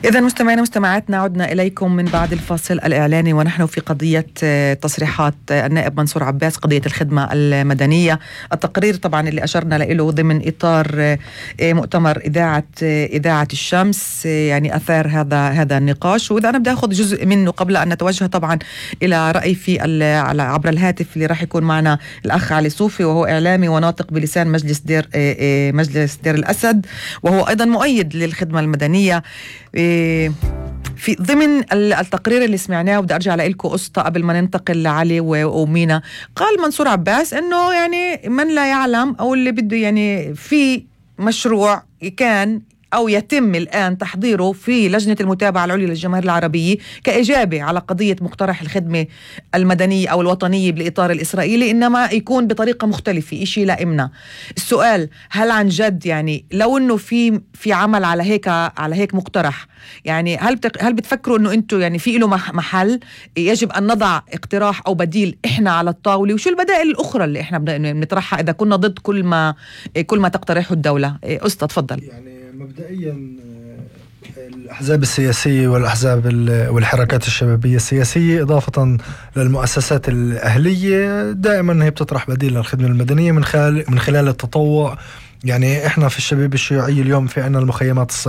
إذا مستمعينا مستمعاتنا عدنا إليكم من بعد الفاصل الإعلاني، ونحن في قضية تصريحات النائب منصور عباس، قضية الخدمة المدنية. التقرير طبعا اللي أشرنا له ضمن إطار مؤتمر إذاعة الشمس يعني أثار هذا النقاش، وإذا أنا بدي أخذ جزء منه قبل أن نتوجه طبعا إلى رأي في عبر الهاتف اللي راح يكون معنا الأخ علي صوفي، وهو إعلامي وناطق بلسان مجلس دير الأسد، وهو أيضا مؤيد للخدمة المدنية. في ضمن التقرير اللي سمعناه، وبدي أرجع لإلكم قصة قبل ما ننتقل لعلي ومينا. قال منصور عباس إنه يعني من لا يعلم أو اللي بده يعني في مشروع كان أو يتم الآن تحضيره في لجنة المتابعة العليا للجماهير العربية كإجابة على قضية مقترح الخدمة المدنية أو الوطنية بالإطار الإسرائيلي، إنما يكون بطريقة مختلفة، إشي لإمنا. السؤال، هل عن جد يعني لو إنه في عمل على هيك مقترح، يعني هل بتفكروا إنه أنتوا يعني في له محل يجب أن نضع اقتراح أو بديل إحنا على الطاولة؟ وشو البدائل الأخرى اللي إحنا بنطرحها إذا كنا ضد كل ما تقترحه الدولة؟ أسطى تفضل. يعني مبدئيا الأحزاب السياسية والأحزاب والحركات الشبابية السياسية إضافة للمؤسسات الأهلية دائما هي بتطرح بديل للخدمة المدنية من خلال التطوع. يعني إحنا في الشباب الشيوعي اليوم في عنا المخيمات